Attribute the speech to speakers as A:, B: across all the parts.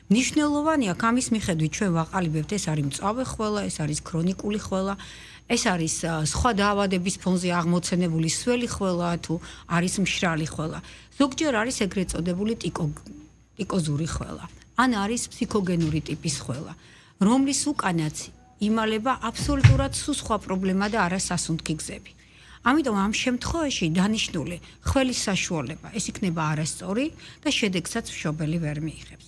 A: მნიშვნელოვანია ამის მიხედვით ჩვენ ვაყალიბებთ ეს არის მწვავე ხველა, ეს არის ქრონიკული ხველა, ეს არის სხვა დაავადების ფონზე აღმოცენებული სველი ხველა თუ არის მშრალი ხველა. ზოგჯერ არის ეგრეთ წოდებული ტიკოზური ხველა. ან არის ფსიქოგენური ტიპის ხველა, რომლის უკანაც იმალება აბსოლუტურად სხვა პრობლემა და არა სასუნთქი გზები. ამიტომ ამ შემთხვევაში დანიშნული ხველის საშუალება ეს იქნება არასწორი და შედეგსაც მშობელი ვერ მიიღებს.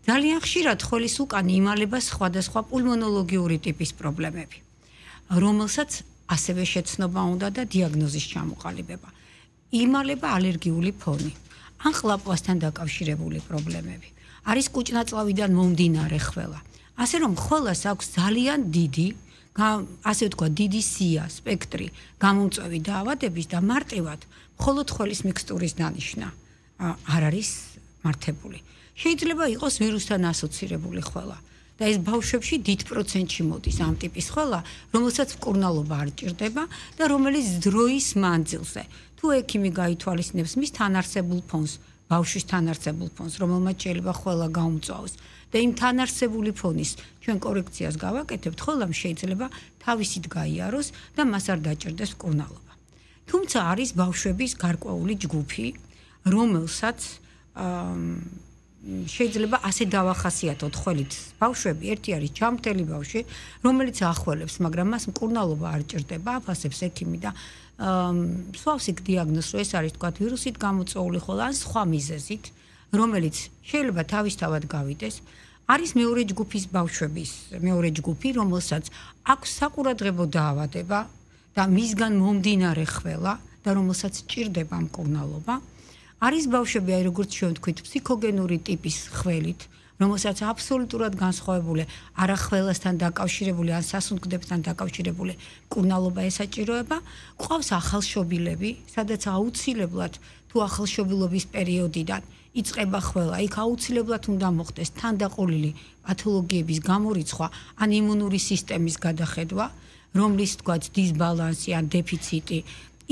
A: ძალიან ხშირად ხველის უკან იმალება სხვადასხვა პულმონოლოგიური ტიპის პრობლემები, რომელსაც ასევე შეცნობა უნდა და დიაგნოზის ჩამოყალიბება. იმალება ალერგიული ფონი, ან ყლაპვასთან დაკავშირებული პრობლემები. არის კუჭნაწლავიდან მომდინარე ხველა. ასე რომ ხველას აქვს ძალიან დიდი, ასე ვთქვა, დიდი სია, სპექტრი გამომწვევი დაავადების და მარტივად მხოლოდ ხველის მიქსტურის დანიშვნა არ არის მართებული. შეიძლება იყოს ვირუსთან ასოცირებული ხველა და ეს ბავშვებში დიდ პროცენტში მოდის ამ ტიპის ხველა, რომელსაც მკურნალობა არ ჭირდება და რომელიც დროის მანძილზე თუ ექიმი გაითვალისწინებს მის თანარსებულ ფონს, ბავშვის თანარსებულ ფონს, რომელმაც შეიძლება ხველა გაუმწვავოს და იმ თანარსებული ფონის ჩვენ კორექციას გავაკეთებთ, ხველამ შეიძლება თავისით გაიაროს და მას არ დაჭირდეს მკურნალობა. თუმცა არის ბავშვების გარკვეული ჯგუფი, რომელსაც შეიძლება ასე დავახასიათოთ ხველით ბავშვები, ერთი არის ჯამრთელი ბავშვი, რომელიც ახველებს, მაგრამ მას მკურნალობა არ ჭირდება, აფასებს ექიმი და სვავს იქ დიაგნოზს, რომ ეს არის თქვა ვირუსით გამოწვეული ხველა ან სხვა მიზეზით, რომელიც შეიძლება თავისთავად გავიდეს. არის მეორე ჯგუფის ბავშვების, მეორე ჯგუფი, რომელსაც აქვს საყურადღებო დაავადება და მისგან მომდინარე ხველა და რომელსაც ჭირდება მკურნალობა. არის ბავშვები, აი როგორც ჩვენ ვთქვით, ფსიქოგენური ტიპის ხველით, რომელსაც აბსოლუტურად განსხვავებული არა ხველასთან დაკავშირებული, ან სასუნთქდებთან დაკავშირებული მკურნალობა ესაჭიროება. გვყავს ახალშობილები, სადაც აუცილებლად თუ ახალშობილობის პერიოდიდან იწყება ხველა, იქ აუცილებლად უნდა მოხდეს თანდაყოლილი პათოლოგიების გამორიცხვა, ან იმუნური სისტემის გადახედვა, რომლის თქვა დისბალანსი ან დეფიციტი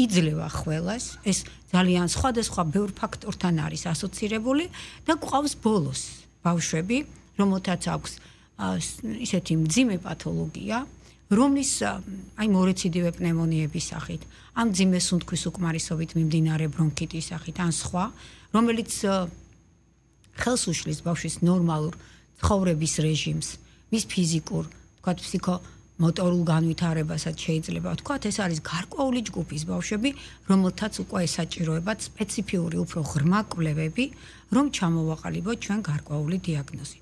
A: იძლევა ხველას, ეს ძალიან სხვადასხვა ბევრ ფაქტორთან არის ასოცირებული და გვყავს ბოლოს ბავშვები, რომელთაც აქვს ისეთი მძიმე პათოლოგია, რომლის აი მორეციდივე პნევმონიების სახით, ამ მძიმე სუნთქვის უკმარისობით მიმდინარე ბრონქიტის სახით, ან სხვა, რომელიც ხელს უშლის ბავშვის ნორმალურ ცხოვრების რეჟიმს, მის ფიზიკურ, თქვა ფსიქომოტორულ განვითარებასაც შეიძლება ვთქვათ, ეს არის გარკვეული ჯგუფის ბავშვები, რომელთაც უკვე ესაჭიროებათ სპეციფიური უფრო ღრმა კვლევები, რომ ჩამოვაყალიბოთ ჩვენ გარკვეული დიაგნოზი.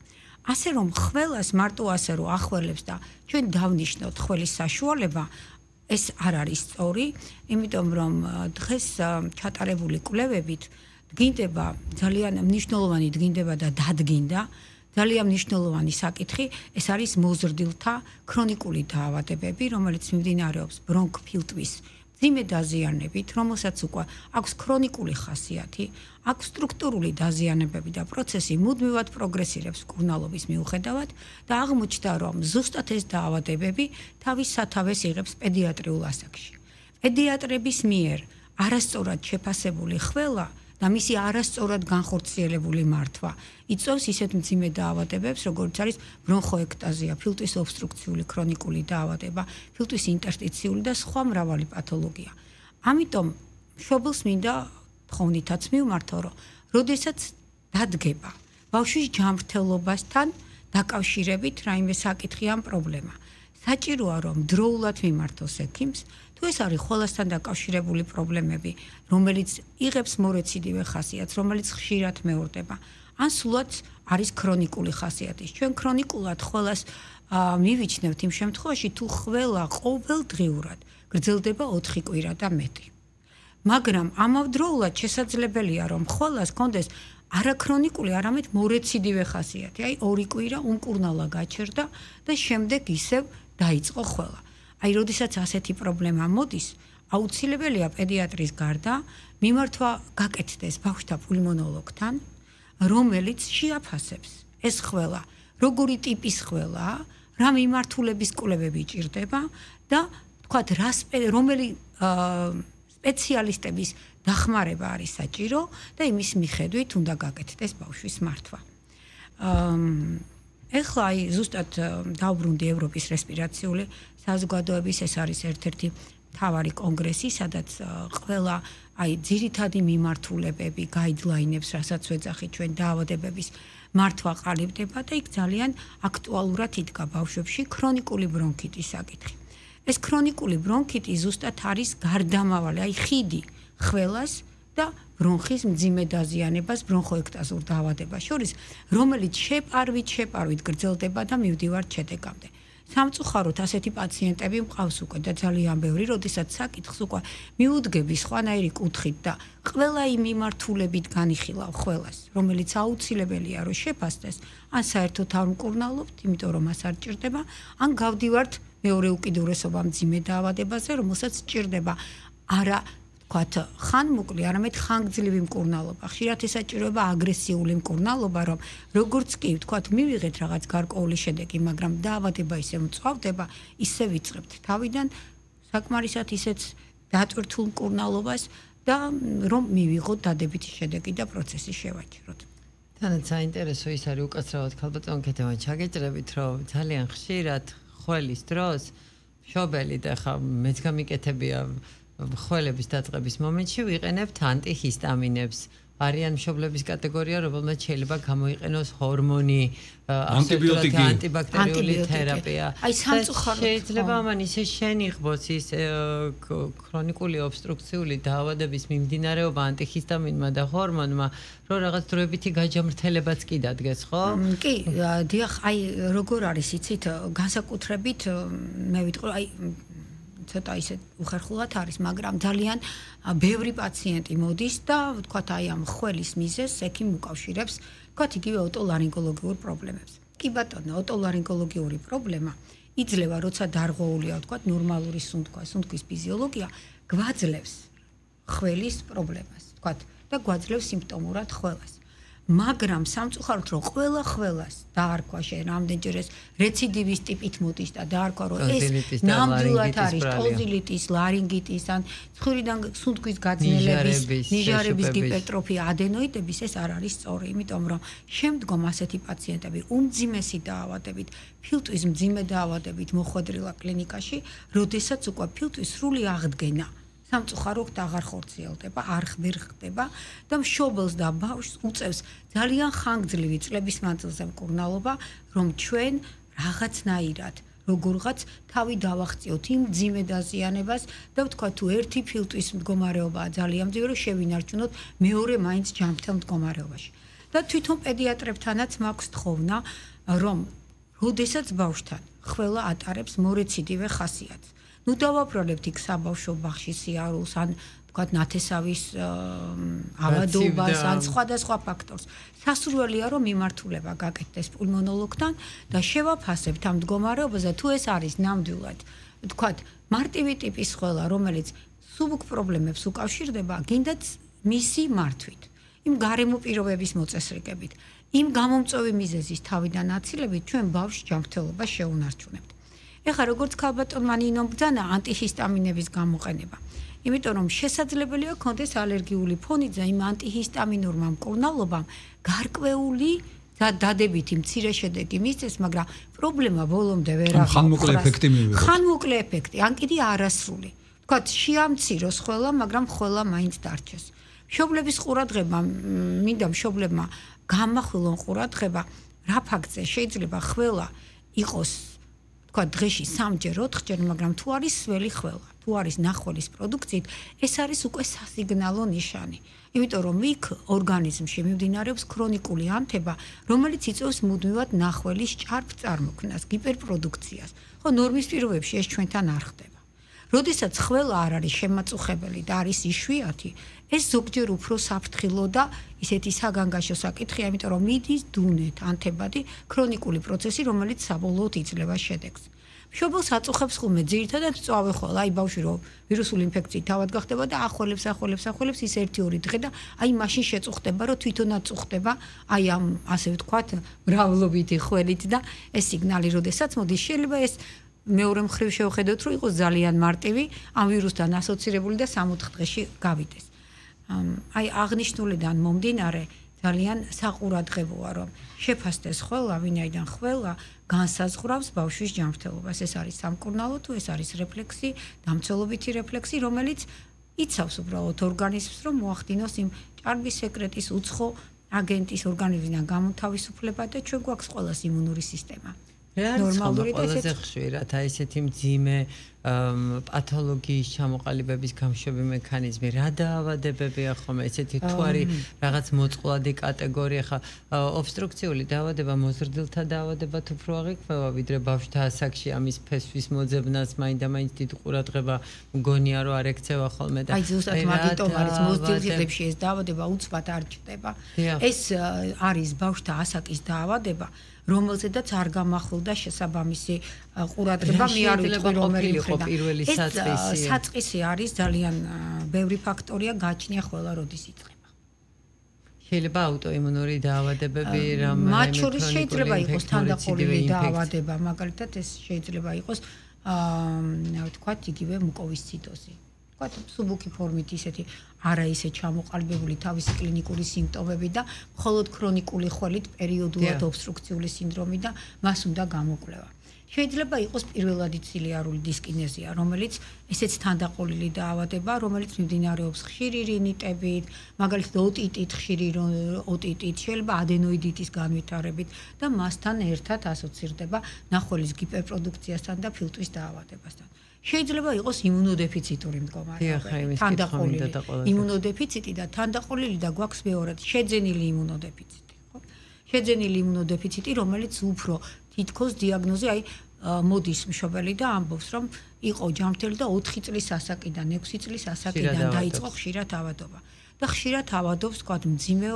A: ასე რომ ხველას მარტო ასე რომ ახველებს და ჩვენ დავნიშნოთ ხველის საშუალება, ეს არ არის სწორი, იმიტომ რომ დღეს ჩატარებული კვლევებით დგინდება ძალიან მნიშვნელოვანი დგინდება და დადგინდა ძალიან მნიშვნელოვანი საკითხი, ეს არის მოზრდილთა ქრონიკული დაავადებები, რომელიც მიმდინარეობს ბრონქფილტვის მძიმე დაზიანებით, რომელსაც უკვე აქვს ქრონიკული ხასიათი, აქვს სტრუქტურული დაზიანებები და პროცესი მუდმივად პროგრესირებს მკურნალობის მიუხედავად და აღმოჩნდა, რომ ზუსტად ეს დაავადებები თავის სათავეს იღებს პედიატრიულ ასაკში. პედიატრების მიერ არასწორად შეფასებული ხველა და მისი არასწორად განხორციელებული მართვა იწვევს ისეთ მძიმე დაავადებებს, როგორც არის ბრონხოექტაზია, ფილტვის ობსტრუქციული ქრონიკული დაავადება, ფილტვის ინტერსტიციული და სხვა მრავალი პათოლოგია. ამიტომ მშობელს მინდა თხოვნითაც მივმართო, რომ როდესაც დადგება ბავშვის ჯანმრთელობასთან დაკავშირებით რაიმე საკითხი ან პრობლემა, საჭიროა რომ დროულად მიმართოს ექიმს, თუ ეს არის ხველასთან დაკავშირებული პრობლემები, რომელიც იღებს მორეციდივე ხასიათს, რომელიც ხშირად მეორდება, ან სულაც არის ქრონიკული ხასიათის. ჩვენ ქრონიკულად ხველას მივიჩნევთ იმ შემთხვევაში, თუ ხველა ყოველდღიურად გრძელდება 4 კვირა და მეტი. მაგრამ ამავდროულად შესაძლებელია, რომ ხველას კონდეს არაქრონიკული, არამედ მორეციდივე ხასიათი, აი 2 კვირა უმკურნალა გაჩერდა და შემდეგ ისევ დაიწყო ხველა. აი, როდესაც ასეთი პრობლემა მოდის, აუცილებელია პედიატრის გარდა მიმართვა გაკეთდეს ბავშვთა პულმონოლოგთან, რომელიც შეაფასებს ეს ხველა, როგორი ტიპის ხველაა, რა მიმართულების კვლევები ჭირდება და თქვათ, რომელი სპეციალისტების დახმარება არის საჭირო და იმის მიხედვით უნდა გაკეთდეს ბავშვის მართვა. ეხლა აი ზუსტად დავბრუნდი ევროპის რესპირაციული საზოგადოების ეს არის ერთ-ერთი მთავარი კონგრესი, სადაც ყველა აი ძირითადი მიმართულებები, გაიდლაინებს, რასაც ვეძახით ჩვენ დაავადებების მართვა ყალიბდება და იქ ძალიან აქტუალურად იდგა ბავშვებში ქრონიკული ბრონქიტის საკითხი. ეს ქრონიკული ბრონქიტი ზუსტად არის გარდამავალი, აი ხიდი ხველას და ბრონხის მძიმე დაზიანებას, ბრონხოექტაზურ დაავადებას შორის, რომელიც შეპარვით გრძელდება და მივდივართ შედეგამდე. სამწუხაროდ ასეთი პაციენტები მყავს უკვე და ძალიან ბევრი, როდესაც საკითხს უკვე მიუდგები სხვანაირი კუთხით და ყველა იმ მიმართულებით განიხილავ ყველას, რომელიც აუცილებელია რომ შეფასდეს, ან საერთოდ არ მკურნალობთ, იმიტომ რომ მას არ ჭირდება, ან გავდივართ მეორე უკიდურესობა მძიმე დაავადებაზე, რომელსაც ჭირდება არა ვთქვათ, ხანმოკლე, არამედ ხანგრძლივი მკურნალობა. ხშირად ესაჭიროება აგრესიული მკურნალობა, რომ როგორც კი ვთქვათ, მივიღეთ რაღაც გარკვეული შედეგი, მაგრამ დაავადება ისე მწვავდება, ისე ვიწყებთ თავიდან საკმარისად ისეთ დატვირთულ მკურნალობას და რომ მივიღოთ დადებითი შედეგი და პროცესი შევაჭროთ.
B: თანაც საინტერესო ის არის უკაცრავად ქალბატონ კეთევან ჩაგეჭრებით, რომ ძალიან ხშირად ხველის დროს მშობელი და ხა მეც გამიკეთებია ხველების დაწყების მომენტში ვიყენებთ ანტიჰისტამინებს. არიან მშობლების კატეგორია, რომელმაც შეიძლება გამოიყენოს ჰორმონი, ანტიბაქტერიული თერაპია.
A: აი სამწუხაროდ
B: შეიძლება ამან ისე შენიღბოს ის ქრონიკული ობსტრუქციული დაავადების მიმდინარეობა ანტიჰისტამინმა და ჰორმონმა, რომ რაღაც დროებითი გაჯამრთელებაც კი დადგეს, ხო?
A: კი, დიახ, აი როგორ არის იცით, განსაკუთრებით მე ვიტყვი, აი ცოტა ისე უხერხულად არის, მაგრამ ძალიან ბევრი პაციენტი მოდის და ვთქვათ აი ამ ხველის მიზეზს ექიმი უკავშირებს, ვთქვათ იგივე ოტოლარინგოლოგიურ პრობლემებს. კი ბატონო, ოტოლარინგოლოგიური პრობლემა იძლევა, როცა დარღვეულია, ვთქვათ, ნორმალური სუნთქვის ფიზიოლოგია, გვაძლევს ხველის პრობლემას, ვთქვათ, და გვაძლევს სიმპტომურად ხველას. მაგრამ სამწუხაროდ რომ ყველა ხველას დაარქვა შენ რამდენჯერ ეს რეციდივის ტიპით მოდის და დაარქვა რომ ეს ნამდვილად არის ტონზილიტის, ლარინგიტის ან ცხვირიდან სუნთქვის გაძნელების, ნიჟარების გიპერტროფია, ადენოიდების ეს არ არის სწორი, იმიტომ რომ შემდგომ ასეთი პაციენტები უმძიმესი დაავადებით, ფილტვის მძიმე დაავადებით მოხვედრილა კლინიკაში, როდესაც უკვე ფილტვის სრული აღდგენა სამწუხაროდ აღარ ხორციელდება, არ ხდება და მშობელს და ბავშვს უწევს ძალიან ხანგრძლივი წლების მანძილზე მკურნალობა, რომ ჩვენ რაღაცნაირად როგორღაც თავი დავახციოთ იმ მძიმე დაზიანებას და ვთქვათ თუ ერთი ფილტვის მდგომარეობაა ძალიან მძიმე, რომ შევინარჩუნოთ მეორე მაინც ჯანმრთელ მდგომარეობაში. და თვითონ პედიატრებთანაც მაქვს თხოვნა, რომ როდესაც ბავშვთან ხველა ატარებს მორეციდივე ხასიათს ნუ დავაბრალებთ იქ საბავშვო ბაღში სიარულს ან ვთქვათ ნათესავის ავადობას ან სხვადასხვა ფაქტორს. სასურველია რომ მიმართულება გაკეთდეს პულმონოლოგთან და შევაფასებთ ამ მდგომარეობაზე თუ ეს არის ნამდვილად ვთქვათ მარტივი ტიპის ხველა რომელიც სუბუქ პრობლემებს უკავშირდება გინდათ მისი მართვით. იმ გარემო პირობების მოწესრიგებით, იმ გამომწვევი მიზეზის თავიდან აცილებით ჩვენ ბავშვს ჯანმრთელობას შეუნარჩუნებთ. ეხლა როგორც ქალბატონმა ნინომ ბრძანა ანტიჰისტამინების გამოყენება. იმიტომ რომ შესაძლებელია ქონდეს ალერგიული ფონი და იმ ანტიჰისტამინურმა მკურნალობამ გარკვეული დადებითი მცირე შედეგი მისცეს, მაგრამ პრობლემა ბოლომდე ვერ აღარ
C: ხანმოკლე ეფექტი მივიღოთ.
A: ხანმოკლე ეფექტი, ან კიდე არასრული. ვთქვათ, შეამციროს ხველა, მაგრამ ხველა მაინც დარჩეს. მშობლების ყურადღება, მინდა მშობლებმა გამახვილონ ყურადღება, რა ფაქტზე შეიძლება ხველა იყოს თქვა დღეში 3-ჯერ 4-ჯერ, მაგრამ თუ არის სველი ხველა, თუ არის ნახველის პროდუქციით, ეს არის უკვე სასიგნალო ნიშანი. იმიტომ რომ იქ ორგანიზმში მიმდინარეობს ქრონიკული ანთება, რომელიც იწვევს მუდმივად ნახველის ჭარბ წარმოქმნას, გიპერპროდუქციას. ხო, ნორმის პირობებში ეს ჩვენთან არ ხდება. როდესაც ხველა არ არის შემაწუხებელი და არის იშვიათი, ეს ზოგჯერ უფრო საფრთხილო და ისეთი საგანგაშო საკითხია, იმიტომ რომ მიდის დუნეთ, ანთებადი, ქრონიკული პროცესი, რომელიც საბოლოოდ იძლევა შედეგს. მშობელს აწუხებს ხოლმე ძირითადად მწვავე ხველა, აი ბავშვი რომ ვირუსული ინფექციით თავად გახდება და ახველებს ის 1-2 დღე და აი მაშინ შეწუხდება, რომ თვითონაც წუხდება, აი ამ ასე ვთქვათ, მრავლობითი ხველით და ეს სიგნალი როდესაც მოდის, შეიძლება ეს მეორე მხრივ შევხედოთ, რომ იყოს ძალიან მარტივი, ამ ვირუსთან ასოცირებული და 3-4 დღეში გავიდეს. აი აღნიშნულიდან მომდინარე ძალიან საყურადღებოა, რომ შეფასდეს ყველა, ვინაიდან ყველა განსაზღვრავს ბავშვის ჯანმრთელობას. ეს არის სამკურნალო თუ ეს არის რეფლექსი, დამცველობითი რეფლექსი, რომელიც იცავს უბრალოდ ორგანიზმს, რომ მოახდინოს იმ ჭარბი სეკრეტის უცხო აგენტის ორგანიზმიდან გამოთავისუფლება და ჩვენ გვაქვს ყველას იმუნური სისტემა.
B: ნორმალური და ესეთი ხშირად აი ესეთი მძიმე პათოლოგიის ჩამოყალიბების გამშვები მექანიზმი რა დაავადებებია ხომ ესეთი თუ არის რაღაც მოწყვლადი კატეგორია ხა ობსტრუქციული დაავადება მოზრდილთა დაავადება თუ უფრო აღიქვევა ვიდრე ბავშვთა ასაკში ამის ფესვის მოძებნას მაინდა-მაინც დიდ ყურადღება მგონია რომ არ ექცევა ხოლმე და
A: აი ზუსტად მაგიტომ არის მოზრდილთებში ეს დაავადება უცბად არ ჭდება ეს არის ბავშვთა ასაკის დაავადება რომელზედაც არ გამახვილდა შესაბამისი ყურადღება მე არ ვიტყვი რომელი მხრიდან
B: პირველი საწყისი
A: საწყისი არის ძალიან ბევრი ფაქტორია გააჩნია ყველა როდის იწყება
B: შეიძლება აუტოიმუნური დაავადებები
A: მათ შორის შეიძლება იყოს თანდაყოლილი დაავადება მაგალითად ეს შეიძლება იყოს ვთქვათ იგივე მუკოვისციდოზი ვთქვათ სუბუქი ფორმით ისეთი არა ისე ჩამოყალიბებული თავისი კლინიკური სიმპტომები და მხოლოდ ქრონიკული ხველით პერიოდულად ობსტრუქციული სინდრომი და მას უნდა გამოკვლევა. შეიძლება იყოს პირველადი ცილიარული დისკინეზია, რომელიც ესეც თანდაყოლილი დაავადება, რომელიც მიმდინარეობს ხშირი რინიტებით, მაგალითად ოტიტით, ხშირი ოტიტით, შეიძლება ადენოიდიტის განვითარებით და მასთან ერთად ასოცირდება ნახველის გიპერპროდუქციასთან და ფილტვის დაავადებასთან. შეიძლება იყოს იმუნოდეფიციტური მდგომარეობა, თანდაყოლილი იმუნოდეფიციტი და თანდაყოლილი და გვაქვს მეორად შეძენილი იმუნოდეფიციტი, ხო? შეძენილი იმუნოდეფიციტი, რომელიც უფრო თითქოს დიაგნოზი, აი მოდის მშობელი და ამბობს, რომ იყო ჯანმრთელი და 4 წლის ასაკიდან, 6 წლის ასაკიდან დაიწყო ხშირად ავადობა. და ხშირად ავადობს, თქვათ, მძიმე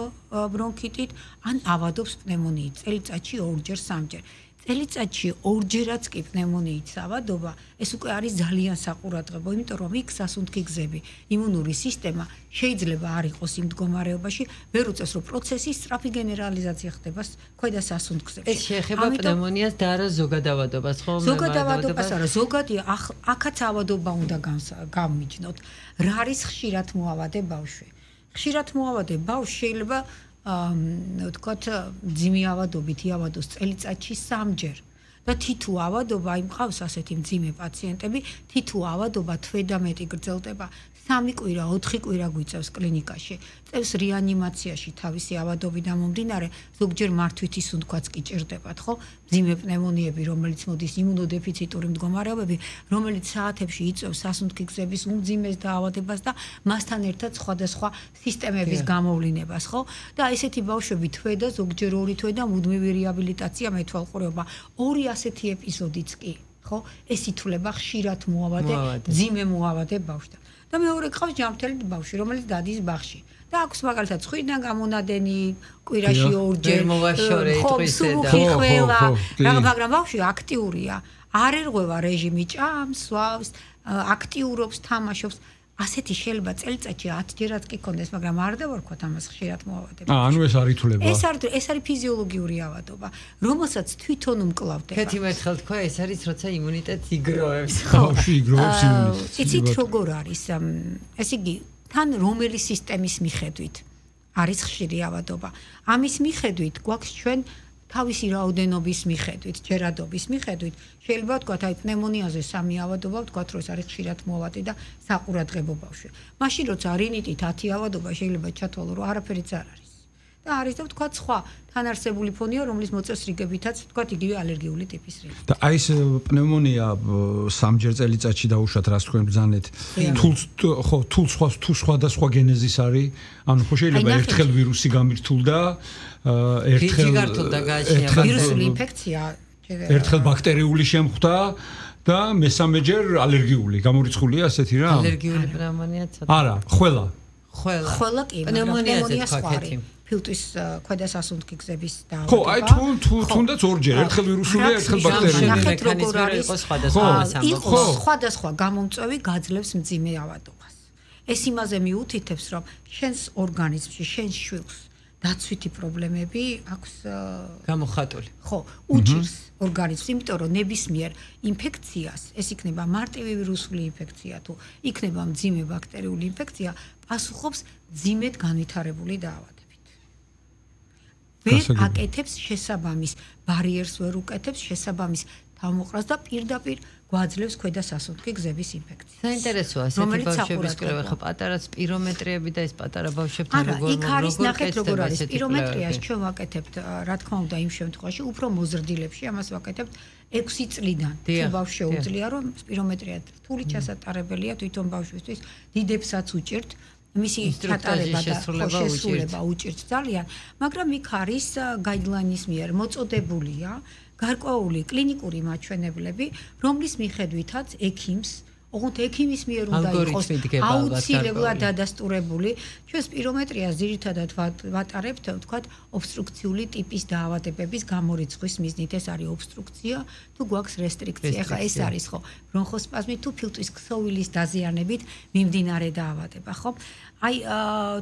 A: ბრონქიტით, ან ავადობს პნევმონიით, წელიწადში 2-ჯერ, 3-ჯერ. წელიწადში 2-ჯერაც კი პნევმონიით ავადობა, ეს უკვე არის ძალიან საყურადღებო, იმიტომ რომ იქ სასუნთქი გზები, იმუნური სისტემა შეიძლება არ იყოს იმ მდგომარეობაში, ვერ უწევს, რომ პროცესის სწრაფი გენერალიზაცია ხდება ქვედა სასუნთქებზე.
B: ეს შეეხება პნევმონიას და არა ზოგად ავადობას, ხო?
A: ზოგად ავადობას არა, ზოგადია, აქაც ავადობა უნდა გამიჯნოთ. რა არის ხშირად მოავადე ბავშვი? ხშირად მოავადე ბავშვი შეიძლება ვთქვათ, მძიმე ავადობით იავადოს წელიწადში 3-ჯერ. და თითო ავადობა, აი მყავს ასეთი მძიმე პაციენტები, თითო ავადობა თვე და მეტი გრძელდება. 3 კვირა, 4 კვირა გვიწევს კლინიკაში. წევს რეანიმაციაში თავისი ავადობიდან მომდინარე, ზოგჯერ მართვითი სუნთქვაც კი ჭირდებათ, ხო? მძიმე პნევმონიები, რომელიც მოდის იმუნოდეფიციტური მდგომარეობები, რომელიც საათებში იწვევს სასუნთქი გზების უმძიმეს დაავადებას და მასთან ერთად სხვადასხვა სისტემების გამოვლინებას, ხო? და ესეთი ბავშვები თვე და ზოგჯერ 2 თვე და მუდმივი რეაბილიტაცია მეთვალყურეობა. 2 ასეთი ეპიზოდიც კი, ხო? ეს ითვლება ხშირად მოავადე, მძიმე მოავადე ბავშვთან. და მეორე ყავს ჯანმრთელი ბავშვი, რომელიც დადის ბაღში. და აქვს მაგალითად ცხვირიდან გამონადენი კვირაში 2-ჯერ, ხო, სუბუქი ხველა, მაგრამ ბავშვი აქტიურია, არ ერღვევა რეჟიმი, ჭამს, სვავს, აქტიურობს, თამაშობს. ასეთი შეიძლება წელიწადში 10-ჯერაც კი კონდეს, მაგრამ არ დავარქვათ ამას ხშირად მოავადებას.
C: ანუ ეს არ ითვლება.
A: ეს არის ფიზიოლოგიური ავადობა, რომელსაც თვითონ უმკლავდება.
B: კეთი მერთხელ თქვა, ეს არის როცა იმუნიტეტს იგროვებს.
C: ბავშვი იგროვებს იმუნიტეტს.
A: იცით როგორ არის? ეს იგი თან რომელი სისტემის მიხედვით არის ხშირი ავადობა. ამის მიხედვით გვაქვს ჩვენ თავისი რაოდენობის მიხედვით, ჯერადობის მიხედვით, შეიძლება ვთქვათ, აი პნევმონიაზე 3 ავადობა, ვთქვათ, რომ ეს არის ხშირად მოავადე და საყურადღებო ბავშვი. მაშინ როცა რინიტით 10 ავადობა შეიძლება ჩათვალო, რომ არაფერიც არ არის. და არის და ვთქვათ, სხვა თანარსებული ფონია, რომლის მოწევს რიგებითაც, ვთქვათ, იგივე ალერგიული ტიპის რიგი.
C: და აი ეს პნევმონია 3-ჯერ წელიწადში დაუშვათ, რას თქვენ ბრძანეთ? თუ სხვადასხვა გენეზის არის, ანუ ხო შეიძლება ერთხელ ვირუსი გამირთულდა,
A: ვირუსული ინფექცია,
C: ერთხელ ბაქტერიული შემხვდა და მესამეჯერ ალერგიული. გამორიცხულია ასეთი რა?
B: ალერგიული პნევმონია ცოტა.
C: არა, ხველა.
A: ხველა კი,
B: პნევმონია სხვა.
A: ფილტვის ქვედა სასუნთქი გზების დაავადება.
C: ხო, აი თუნდაც 2-ჯერ, ერთხელ ვირუსულია, ერთხელ ბაქტერიული.
A: ნახეთ როგორ არის სხვადასხვა გამომწვევი გაძლევს მძიმე ავადობას. ეს იმაზე მიუთითებს, რომ შენს ორგანიზმში, შენს შვილს დაცვითი პრობლემები აქვს
B: გამოხატული.
A: ხო, უჭირს ორგანიზმს, იმიტომ რომ ნებისმიერ ინფექციას, ეს იქნება მარტივი ვირუსული ინფექცია თუ იქნება მძიმე ბაქტერიული ინფექცია, პასუხობს მძიმედ განვითარებული დაავადებებით. ვერ აკეთებს შესაბამის ბარიერს, ვერ უკეთებს შესაბამის თავმოყრას და პირდაპირ გვაძლევს ქვედა სასუნთქი გზების ინფექციას.
B: საინტერესოა ასეთი ბავშვების კვლევა, ხო პატარა სპირომეტრიები და ეს პატარა ბავშვებთან
A: როგორ ნახეთ როგორ არის სპირომეტრიას ჩვენ ვაკეთებთ, რა თქმა უნდა, იმ შემთხვევაში უფრო მოზრდილებში ამას ვაკეთებთ 6 წლიდან. თუ ბავშვს შეუძლია რომ სპირომეტრია რთული ჩასატარებელია თვითონ ბავშვისთვის, დიდებსაც უჭირთ მისი ჩატარება და შესრულება უჭირთ ძალიან, მაგრამ იქ არის გაიდლაინის მიერ მოწოდებულია გარკვეული კლინიკური მაჩვენებლები, რომლის მიხედვითაც ექიმს, ოღონდ ექიმის მიერ უნდა იყოს აუცილებლად დადასტურებული. ჩვენ სპირომეტრიას ძირითადად ვატარებთ, ვთქვათ, ობსტრუქციული ტიპის დაავადებების გამორიცხვის მიზნით. ეს არის ობსტრუქცია, თუ გვაქვს რესტრიქცია. ეხლა ეს არის ხო, ბრონხოსპაზმი თუ ფილტვის ქსოვილის დაზიანებით მიმდინარე დაავადება, ხო? აი,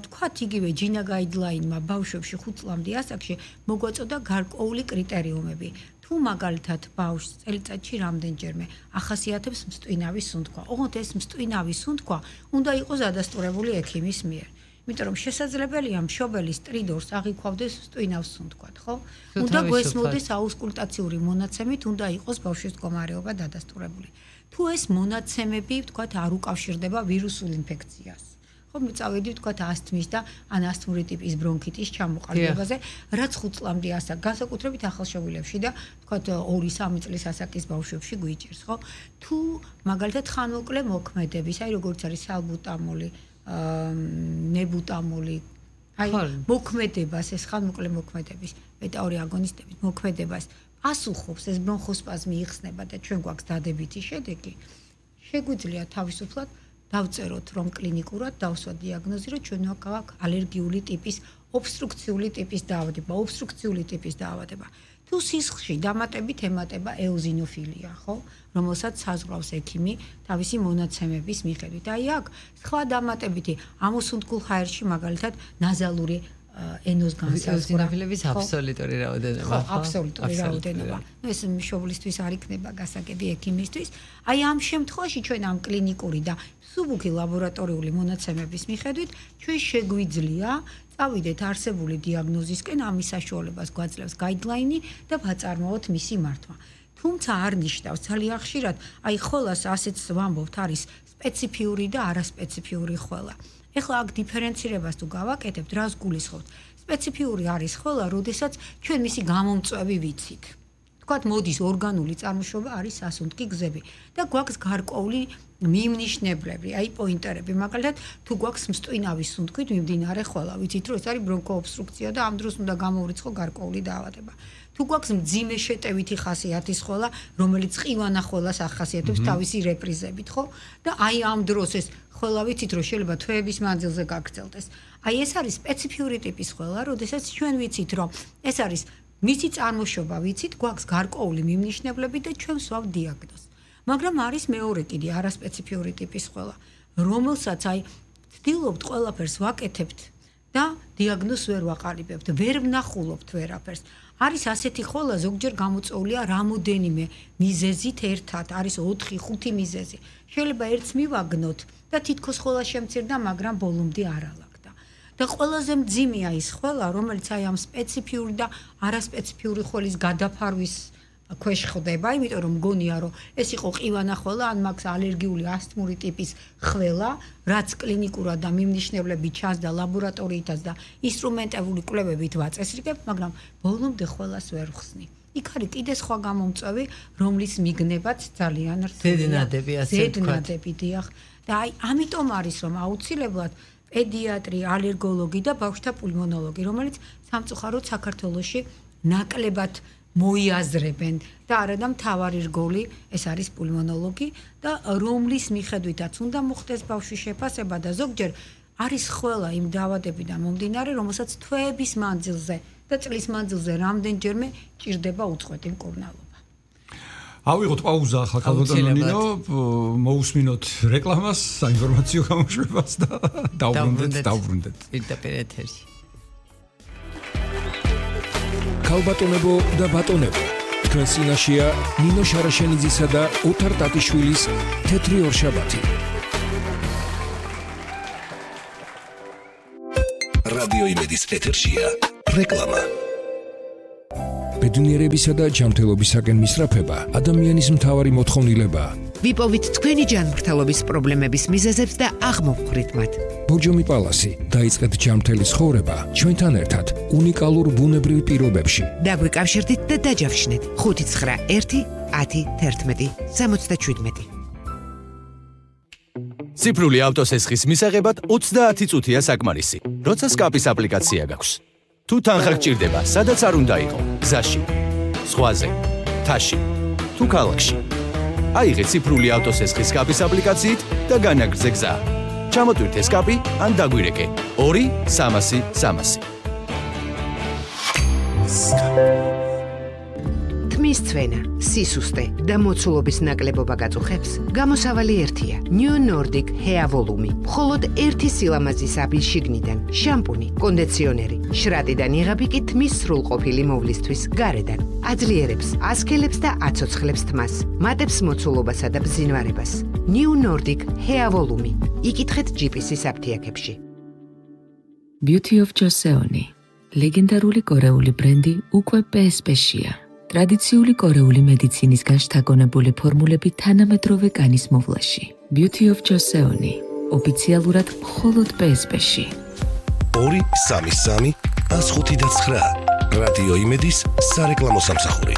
A: ვთქვათ, იგივე ჯინა გაიდლაინმა ბავშვებში 5 წლამდე ასაკში მოგვაწოდა გარკვეული კრიტერიუმები. თუ მაგალითად ბავშვს წელიწადში რამდენჯერმე ახასიათებს მსტვინავი სუნთქვა. ოღონდ ეს მსტვინავი სუნთქვა უნდა იყოს დადასტურებული ექიმის მიერ. იმიტომ რომ შესაძლებელია მშობელი სტრიდორს აღიქვავდეს მსტვინავს სუნთქვად, ხო? უნდა გვესმოდეს აუსკულტაციური მონაცემით, უნდა იყოს ბავშვის მდგომარეობა დადასტურებული. თუ ეს მონაცემები, ვთქვათ, არ უკავშირდება ვირუსულ ინფექციას. ხო, მიწავედი ვთქვათ ასთმის და ან ასთმური ტიპის ბრონქიტის ჩამოყალიბებაზე, რაც 5 წლამდე ასაკ, განსაკუთრებით ახალშობილებში და ვთქვათ 2-3 წლის ასაკის ბავშვებში გვიჭირს, ხო? თუ მაგალითად ხანმოკლე მოქმედების, აი როგორც არის სალბუტამოლი, ნებუტამოლი, აი მოქმედებას, ეს ხანმოკლე მოქმედების, ბეტა-2 აგონისტების მოქმედებას პასუხობს, ეს ბრონხოსპაზმი იხსნება და ჩვენ გვაქვს დადებითი შედეგი, შეგვიძლია თავისუფლად დავწეროთ რომ კლინიკურად დავსვათ დიაგნოზი, რომ ჩვენ გვაქვს ალერგიული ტიპის, ობსტრუქციული ტიპის დაავადება. თუ სისხლში დამატებით ემატება ეოზინოფილია, ხო? რომელსაც საზღვრავს ექიმი თავისი მონაცემების მიხედვით. აი აქ სხვა დამატებითი ამოსუნთქულ ჰაერში მაგალითად ნაზალური ენოს განსაზღვრა.
B: ეოზინოფილების აბსოლუტური რაოდენობა,
A: ხო? აბსოლუტური რაოდენობა. ეს მშობლისთვის არ იქნება გასაგები ექიმისთვის. აი ამ შემთხვევაში ჩვენ ამ კლინიკური და სუბუქი ლაბორატორიული მონაცემების მიხედვით ჩვენ შეგვიძლია წავიდეთ არსებული დიაგნოზისკენ, ამის საშუალებას გვაძლევს გაიდლაინი და ვაწარმოოთ მისი მართვა. თუმცა არ ნიშნავს ძალიან ხშირად, აი ხოლას ასეც ვამბობთ, არის სპეციფიური და არასპეციფიური ხველა. ეხლა აქ დიფერენცირებას თუ გავაკეთებთ, რას გულისხმობთ? სპეციფიური არის ხველა, როდესაც ჩვენ მისი გამომწვევი ვიცით. ვთქვათ, მოდის ორგანული წარმოშობა არის სასუნთქი გზები და გვაქვს გარკვეული მიმნიშნებლები, აი პოინტერები, მაგალითად, თუ გვაქვს მსტვინავის სუნთქვით მიმდინარე ხველა, ვიცით რომ ეს არის ბრონქოობსტრუქცია და ამ დროს უნდა გამოვრიცხო გარკვეული დაავადება. თუ გვაქვს მძიმე შეტევითი ხასიათის ხველა, რომელიც ყივანა ხველას ახასიათებს თავისი რეპრიზებით, ხო? და აი ამ დროს ეს ხველა ვიცით რომ შეიძლება თვეების მანძილზე გაგრძელდეს. აი ეს არის სპეციფიური ტიპის ხველა, როდესაც ჩვენ ვიცით რომ ეს არის მისი წარმოშობა ვიცით, გვაქვს გარკვეული მიმნიშნებლები და ჩვენ ვსვავთ დიაგნოზს. მაგრამ არის მეორე კიდე არასპეციფიური ტიპის ხველა, რომელსაც აი ვცდილობთ ყველაფერს ვაკეთებთ და დიაგნოზს ვერ ვაყალიბებთ, ვერ ვნახულობთ ვერაფერს. არის ასეთი ხველა, ზოგჯერ გამოწვეულია რამოდენიმე მიზეზით ერთად, არის 4-5 მიზეზი. შეიძლება ერთს მივაგნოთ და თითქოს ხველა შემცირდა, მაგრამ ბოლომდე არ ალაგდა. და ყველაზე მძიმეა ის ხველა, რომელიც აი ამ სპეციფიური და არასპეციფიური ხველის გადაფარვის ქვეშ ხდება, იმიტომ რომ მგონია რომ ეს იყო ყივანა ხველა, ან მაქვს ალერგიული ასთმური ტიპის ხველა, რაც კლინიკურად და მიმნიშნებლები ჩანს და ლაბორატორიითაც და ინსტრუმენტული კვლევებით ვაწესრიგებ, მაგრამ ბოლომდე ხველას ვერ ვხსნი. იქ არის კიდე სხვა გამომწვევი, რომლის მიგნებაც ძალიან რთულია.
B: ზედნადები, ასე ვთქვათ.
A: ზედნადები, დიახ. და აი ამიტომ არის რომ აუცილებლად პედიატრი, ალერგოლოგი და ბავშვთა პულმონოლოგი, რომელიც სამწუხაროდ საქართველოში ნაკლებად მოიაზრებენ და არადა მთავარი რგოლი ეს არის პულმონოლოგი და რომლის მიხედვითაც უნდა მოხდეს ბავშვის შეფასება და ზოგჯერ არის ხველა იმ დაავადებიდან მომდინარე, რომელსაც თვეების მანძილზე და წლის მანძილზე რამდენჯერმე ჭირდება უწყვეტი მკურნალობა.
C: ავიღოთ პაუზა ახლა ქალბატონო ნინო, მოусმინოთ რეკლამას, საინფორმაციო გამოშვებას და დავბრუნდეთ.
B: პირდაპირ ეთერში.
D: ქალბატონებო და ბატონებო, თქვენ წინაშეა ნინო შარაშენიძისა და ოთარ ტატიშვილის თეთრი ორშაბათი. რადიო იმედის ეთერშია რეკლამა. ბედნიერებისა და ჯანმრთელობისაკენ მისწრაფება ადამიანის მთავარი მოთხოვნილებაა.
E: ვიპოვით თქვენი ჯანმრთელობის პრობლემების მიზეზებს და აღმოვხვრით მათ.
D: ბოჯომი პალასი, დაიწყეთ ჯანმრთელი ცხოვრება ჩვენთან ერთად უნიკალურ ბუნებრივ პირობებში.
E: დაგვიკავშირდით და დაჯავშნეთ 591 10 11 77.
F: ციფრული ავტოსესხის მისაღებად 30 წუთია საკმარისი, როცა სკაპის აპლიკაცია გაქვს. თუ თანხა გჭირდება, სადაც არ უნდა იყო, გზაში, ზღვაზე, მთაში, თუ ქალაქში. აიღე ციფრული ავტოსესხის სკაპის აპლიკაციით და განაგრძე გზა. ჩამოტვირთე სკაპი ან დაგვირეკე 2-300-300.
E: თმის ცვენა, სისუსტე და მოცულობის ნაკლებობა გაწუხებს, გამოსავალი ერთია. New Nordic Hair Volume. მხოლოდ ერთი სილამაზის აბი შიგნიდან, შამპუნი, კონდიციონერი, შრატიდან იღები კი თმის სრულყოფილი მოვლისთვის გარედან. აძლიერებს, ასქელებს და აცოცხლებს თმას, მატებს მოცულობასა და ბზინვარებას. New Nordic Hair Volume. იკითხეთ GPS-ის აფთიაქებში.
G: Beauty of Joseon. ლეგენდარული კორეული ბრენდი უკვე PSP-შია. ტრადიციული კორეული მედიცინისგან შთაგონებული ფორმულები თანამედროვე კანის მოვლაში. Beauty of Joseon. ოფიციალურად მხოლოდ PSP-ში.
H: 2-3-3-105-9 რადიო იმედის სარეკლამო სამსახური.